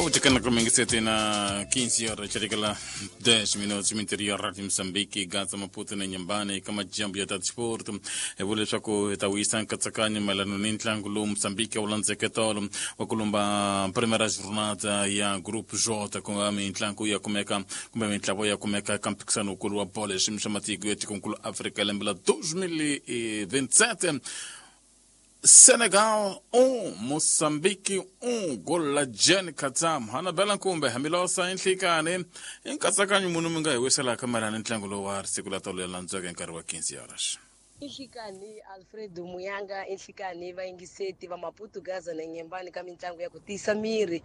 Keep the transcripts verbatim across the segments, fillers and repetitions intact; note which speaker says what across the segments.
Speaker 1: Autikana kumengisete na quinze horas chirikala dez minutos interior de Moçambique Gaza Maputo na Inhambane kama jambo ya transporto e vule leswaku hi ta wisa nkatsakanyo mayelana ni ntlangu lowu Moçambique wu landzeke tolo wa ku lumba primeira jornada ya Grupo J ku nga mintlangu ya kumeka kumbe mintlawa ya kumeka eka mphikizano wukulu wa bolo ya xiyimo xa matiko ya tikonkulu Afrika lembe la dois mil e vinte e sete. Senegal um, Moçambique um, gol la Jen Katam. Hanabela Nkumbe, Hamilosa Nhlikane, nkatsakanyo munhu mi nga hi wiselaka mayelana ni ntlangu lowu wa siku la tolo ya landzeke hi nkarhi wa quinze horas.
Speaker 2: Inhlikani Alfredo Muyanga, inhlikani vayingiseti va Maputo Gaza na Inhambane ka mitlangu ya ku tiyisa miri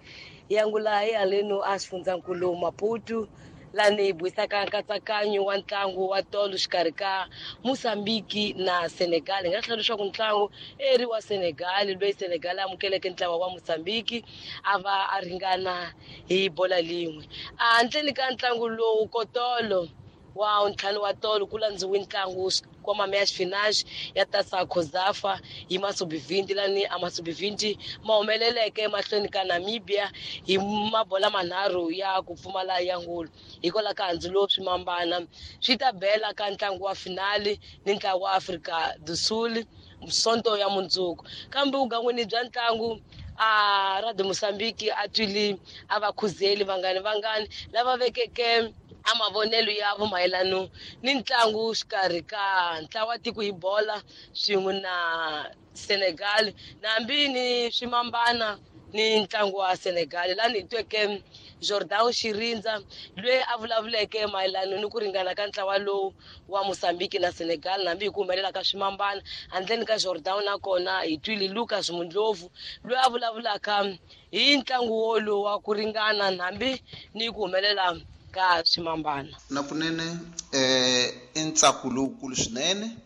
Speaker 2: yangula hi haleno a xifundzankulu Maputo lani hi buisaka nkatsakanyo wa ntlangu wa tolo xikarhi ka Moçambique na Senegal. Hi nga hlaya leswaku ntlangu eri wa Senegal loyi Senegal amukeleke ntlawa wa Moçambique a va a ringana hi bola lin'we. Handleni ka ntlangu lowu kotolo wa ntlhanu wa tolo ku landziwe ntlangu wa meias finais ya Taça COSAFA hi masubivhinti lani a masubivhinti ma humeleleke mahlweni ka Namibia hi mabola manharhu ya ku pfumala ya ngulu. Hikwalaho ka handzu lowu swimambana swi ta bela ka ntlangu wa finali ni ntlangu wa Afrika do Sul Sonto ya mundzuku. Kambe vugangwini bya ntlangu a Radio Moçambique a twile a va khuzeli vangani vangani lava vekeke a mavonelo ya vo mayelano ni ntlangu xikarhi ka ntlawa tiko hi bola swin'we na Senegal nambi ni swimambana ni ntlangu wa Senegal. Lani hi tweke Jordan Shirindza loyi a vulavuleke mayelano ni ku ringana ka ntlawa lowu wa Moçambique na Senegal nambi hi ku humelela ka swimambana. Handleni ka Jordan nakona hi twile Lucas Mundlovu loyi a vulavulaka hi ntlangu wolowu wa ku ringana nambi ni ku humelela ka swimambana.
Speaker 3: Na kunene eh i ntsako lowukulu swinene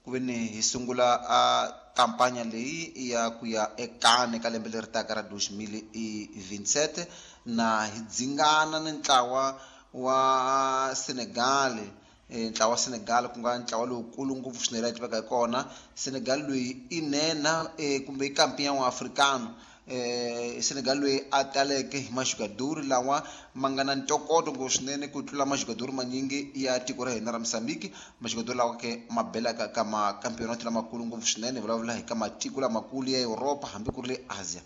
Speaker 3: ku ve ni hi sungula a kampanya leyi ya ku ya ekane ka lembe leri taka ra dois mil e vinte e sete na hi dzingana ni ntlawa wa Senegal. Ntlawa wa Senegal ku nga ntlawa lowukulu ngopfu swinene la tiveka hi kona. Senegal loyi i nhenha kumbe i kampion wa africano. Eh Senegal loyi a taleke hi majugadori lawa ma nga na ntokoto ngopfu swinene ku tlula majugadori manyingi ya tiko ra hina ra Moçambique. Majugadori lawa ke ma belaka ka makampeonato lamakulu ngopfu swinene, vulavula hi ka matiko lamakulu ya Europa hambi ku ri le Asia.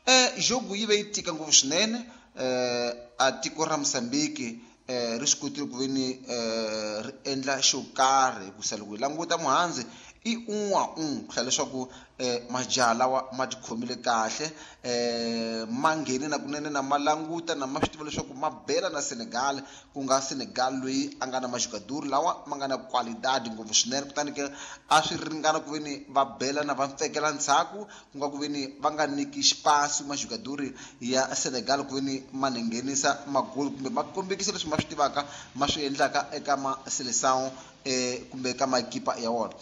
Speaker 3: Eh jogo yi ve yi tika ngopfu swinene. Eh a tiko ra Moçambique eh ri swi kotile ku ve ni eh ri endla xo karhi hikusa loko hi languta muhandzi i un a un ku hlaya leswaku eh majaha lawa ma tikhomile kahle, eh ma nghene na kunene na ma languta na ma swi tiva leswaku ma bela na Senegal, ku nga Senegal loyi a nga na majugadori lawa ma nga na qualidade ngopfu swinene. Kutani ke a swi ringana ku ve ni va bela na va pfekela ndzhaku, ku nga ku ve ni va nga nyiki xipasi majugadori ya Senegal ku ve ni ma nghenisa magoli kumbe ma kombekisa leswi ma swi tivaka ma swi endlaka eka ma seleção eh kumbe ka makipa ya wona.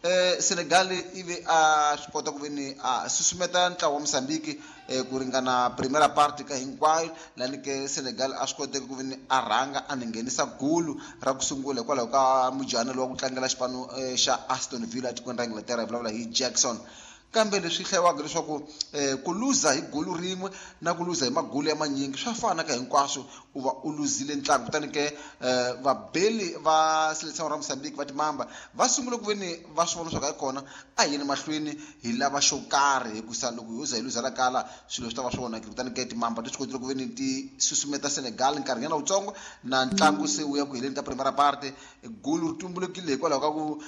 Speaker 3: Eh Senegal ivi a swi kota ku ve ni a susumeta ntlawa wa Moçambique eh ku ringana primeira parte ka hinkwayo lani ke Senegal a swi koteka ku ve ni a rhanga a nghenisa gulu ra ku sungula hikwalaho ka mujana lowa ku tlangela xipano xa Aston Villa etikweni ra Inglaterra, hi vulavula hi Jackson. Kambe leswi hlayiwaka leswaku ku luza hi gulu rin'we na ku luza hi magulu ya manyingi swa fana ka hinkwaswo, u va u luzile ntlangu. Kutani ke vabeli va seleção ra Moçambique va timamba va sungule ku ve ni va swi vona leswaku hayi kona a hi yeni mahlweni hi lava xo karhi, hikusa loko ho za hi luza la kala swilo swi ta va swi onhakile. Kutani ke timamba ti swi kotile ku ve ni ti susumeta Senegal nkarhinyana wutsongo na ntlangu se wu ya ku heleni ka primera parte. Gulu ri tumbulukile hikwalaho ka ku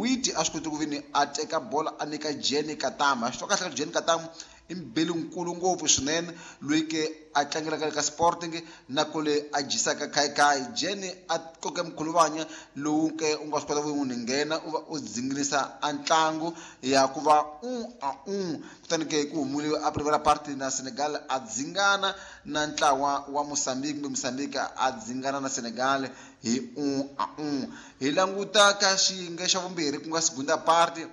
Speaker 3: Witi a swi kotile ku ve ni a teka bola a nyika Jenny Katama. A swi twa kahle ka Jenny Katama i mubeli nkulu ngopfu swinene loyi ke a tlangelaka ka Sporting na kule a dyisaka khayikhayi. Jenny a koke mkhuluvanya lowu ke u nga swi kota ku n'wi nghena u va u dzinginisa a ntlangu ya ku va un a un. Kutani ke ku humile a primera parte na Senegal a dzingana na ntlawa wa Moçambique kumbe Moçambique a dzingana na Senegal hi un a un. Hi languta ka xiyenge xa vumbirhi ku nga segunda parte.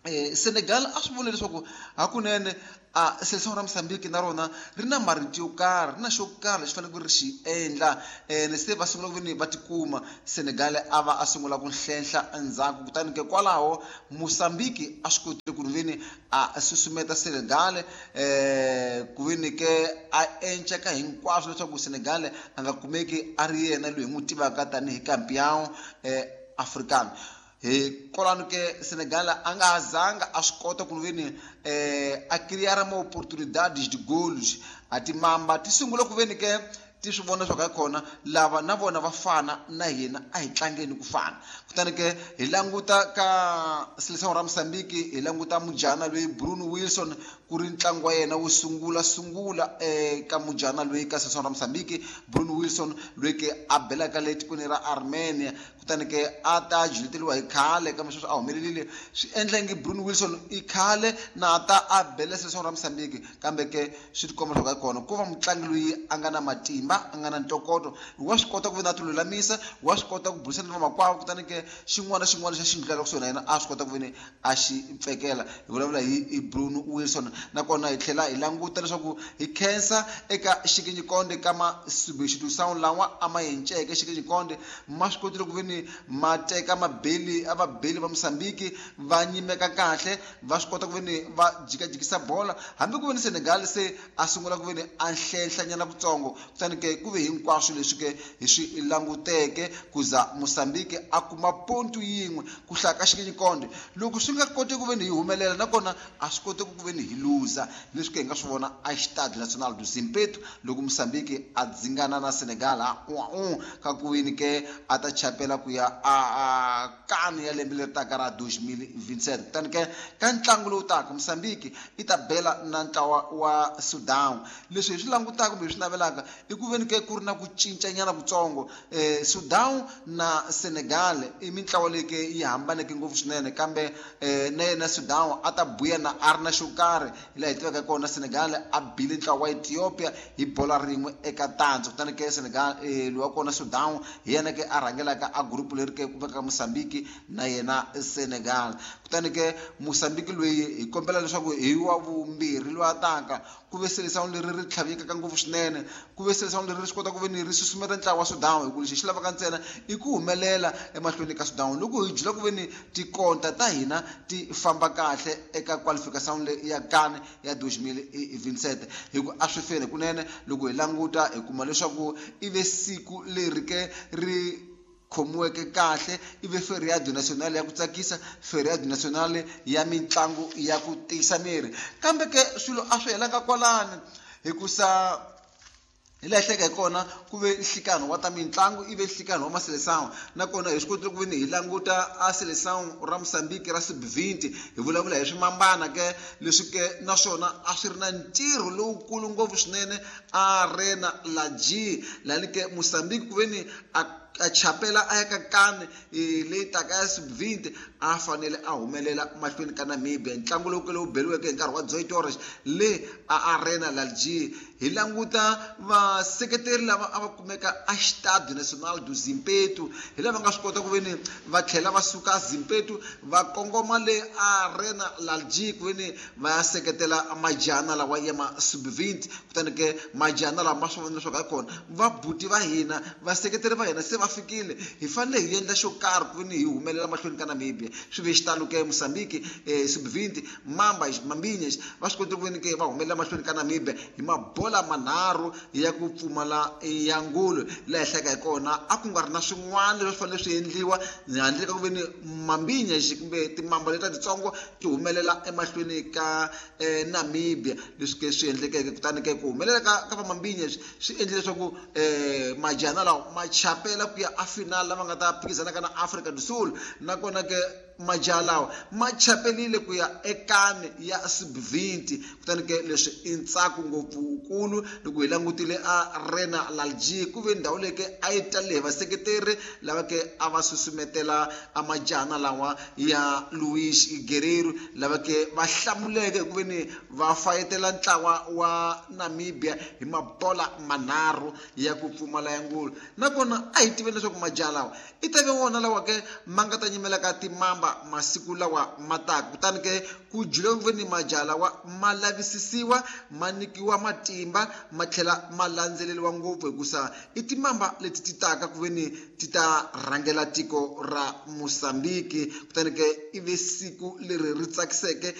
Speaker 3: Eh Senegal a swi vona leswaku hakunene a seleção ra Moçambique na rona ri na marito yo karhi, ri na xo karhi lexi faneleke ri xi endla. Ene se va sungula ku ve ni va tikuma Senegal a va a sungula ku hlenhla endzhaku. Kutani ke kwalaho Moçambique a swi kotile ku ve ni a susumeta Senegal eh ku ve veni ke a enceka hinkwaswo leswaku Senegal a nga kumeki a ri yena loyi hi n'wi tivaka tanihi campeão eh, africano. Hi kolano ke Senegal a nga zanga a swi kota ku veni eh, a criar ma oportunidades de golos. A timamba ti sungula ku veni ke ti swi vona leswaku hi kona lava na vona va fana na hina, a hi tlangeni ku fana. Kutani ke hi languta ka Seleção ra Mozambique, hi languta mujana loyi Bruno Wilson, ku ri ntlangu wa yena wo sungula sungula eka mujana loyi ka Seleção ra Mozambique, Bruno Wilson loyi ke a belaka le tikweni ra Armenia. Kutani ke a ta juleteriwa hi khale, kambe sweswi a humelerile. Swi endla ngi Bruno Wilson i khale na ta a bela Seleção ra Mozambique, kambe ke swi tikomba leswaku hi kona ku va mutlangi loyi a nga na matimba, a nga na ntokoto, wa swi kota ku va na ti lulamisa, wa swi kota ku burisana na vamakwavo. Kutani ke xin'wana na xin'wana xa xi ndlulaka kusuhi na yena a swi kota ku veni a xi pfekela. Hi vulavula hi Bruno Wilson. Nakona hi tlhela hi languta leswaku hi khensa eka xikinyikonde ka ma substitution lawa a ma enceke xikinyikonde, ma swi kotile ku veni ma teka mabeli a vabeli va Mozambique va nyimeka kahle, va swi kota ku veni va jikajikisa bola, hambi ku veni Senegal se a sungula ku veni a nhlenhlanyana kutsongo. Kutani ke ku ve hinkwaswo leswi ke hi swi languteke ku za Mozambique a kuma pontu yin'we ku hlaya ka xikinyikonde. Loko swi nga koti ku veni hi humelela, nakona a swi koteki ku veni hi luza. Leswi ke hi nga swi vona a Estádio Nacional do Zimpeto loko Mozambique a dzingana na Senegal a un ka ku wini ke a ta chapela ku ya a kani ya lembe leri taka ra two thousand twenty-seven. Kutani ke ka ntlangu lowu taka Mozambique i ta bela na ntlawa wa Sudan. Leswi hi swi langutaka kumbe hi swi navelaka i ku veni ke ku ri na ku cincanyana kutsongo. eh, Sudan na Senegal i mintlawa leyi ke yi hambaneke ngopfu swinene, kambe eh, na yena Sudan a ta buya na a ri na xo karhi. Hi laha hi tivaka kona, Senegal a bile ntlawa wa Ethiopia hi bola rin'we eka tandza. Kutani ke Senegal eh, loyi wa kona Sudan hi yena ke a rhangelaka a group leri ke ku vekaka Mozambique na yena Senegal. Kutani ke Mozambique loyi hi kombela leswaku hi wa vumbirhi loyi a taka ku ve Seleção leri ri tlhavekaka ngopfu swinene, ku ve Seleção leri ri swi kota ku ve ni ri susumeta ntlawa wa Sudan, hi ku lexi xi lavaka ntsena i ku humelela emahlweni ka Sudan. Loko hi jula ku ve ni tikonta ta hina ti famba kahle eka qualification leyi ya CAN ya two thousand twenty-seven, hi ku a swi feni kunene. Loko hi languta hi kuma leswaku i ve siku leri ke ri khomiweke kahle, i ve feriado nacional ya ku tsakisa, feriado nacional ya mitlangu ya ku tiyisa miri. Kambe ke swilo a swi helanga kwalani, hikusa hi laha hleka hi kona ku ve nhlikano wa ta mitlangu, i ve nhlikano wa Maseleção. Nakona hi swi kotile ku veni hi languta a Seleção ra Mozambique ra sub twenty, hi vulavula hi swimambana ke leswi ke naswona a swi ri na ntirho lowukulu ngopfu swinene Arena La G, lani ke Mozambique ku veni a a chapela a ya ka CAN leyi taka ya sub twenty a fanele a humelela mahlweni ka Namibia. Ntlangu lowu lowu beriweke hi nkarhi wa Zoe Torres le a Arena La G. Hi languta vaseketeri lava a va kumeka a Estádio Nacional do Zimpeto, hi lava nga swi kota ku veni va tlhela va suka Zimpeto va kongoma le Arena La G ku veni va ya seketela majana lawa ya ma sub twenty. Kutani ke majana lawa ma swi vona leswaku hi kona vabuti va hina, vaseketeri va hina se va fikile, hi fanele hi endla xo karhi ku veni hi humelela mahlweni ka Namibia. Swi ve xitalo ke Mozambique eh, sub twenty Mamba Mambinhas va swi kotile ku veni ke va humelela mahlweni ka Namibia hi mabola manharhu ya ku pfumala ya ngulu. Laha hi hlayaka hi kona a ku nga ri na swin'wana leswi fanele swi endliwa handle ka ku veni Mambinhas kumbe timamba letiya titsongo ti humelela emahlweni ka eh, Namibia. Leswi ke swi endlekeke, kutani ke ku humelela ka ka va Mambinhas swi endle leswaku eh, majana lawa ma chapela ku ya a final lava nga ta phikizanaka na Afrika do Sul. Nakona ke majaha lawa ma chapelile ku ya ekani ya sub twenty. Kutani ke leswi i ntsako ngopfukulu loko hi langutile Arena La G, ku ve ndhawu leyi ke a yi talele hi vaseketeri lava ke a va susumetela a majana lawa ya Luis Guerreiro, lava ke va hlamuleke hi ku veni va fayetela ntlawa wa Namibia hi mabola manharhu ya ku pfumala ya ngulu. Nakona a hi tiveni leswaku majaha lawa i ta ve wona lawa ke ma nga ta nyimela ka timamba masiku lawa ma taka. Kutani ke ku jula ku veni majaha lawa ma lavisisiwa, ma nyikiwa matimba, ma tlhela ma landzeleriwa ngopfu, hikusa i timamba leti ti taka ku veni ti ta rhangela tiko ra Mozambique. Kutani ke i ve siku leri ri tsakiseke.